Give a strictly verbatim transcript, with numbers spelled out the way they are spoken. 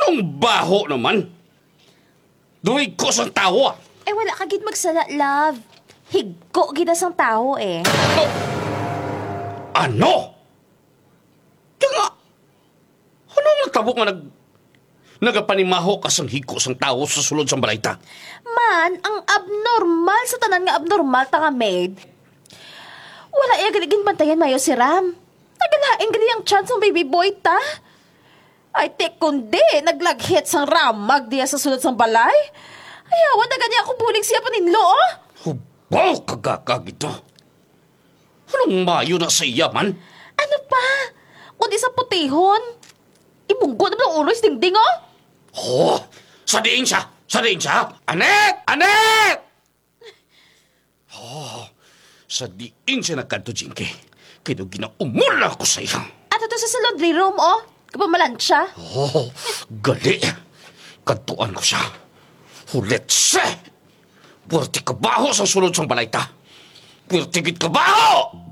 Tong baho naman. Duhig ko sang tawo, ah. Eh, wala ka gid magsala, love. Higko gid na sang tawo, eh. Oh! Ano? Kaya nga, ano ang natabo nga nag-, nagapanimaho ka sang higko sang tawo sa sulod sang balay ta? Man, ang abnormal sa tanan nga abnormal ta nga maid. Wala iya gali ginbantayan mayo si Ram. Nagalain gali ang chance sang baby boy ta. Ay, ti kundi, naglaghit sang ramag diya sa sulod sang balay. Ay, awa na gani ako bulig siya paninlo, oh. Hubaw ka gagag ito. Anong mayo na sa iya man? Ano pa? Kundi sa putihon. Ibunggo na ang ulo sa dingding, oh. Oh, sa diin siya? Sa diin siya? Anet! Anet! Oh, sa diin siya nagkadto, Jinky? Kay daw ginaumol na ako sa iya. Ato to sa, sa laundry room, oh. Kapamalansya. Oh, gali. Kadtuan ko siya. Hulitse! Puwerte kabaho sang sulod sang balay ta. Puwerte gid kabaho!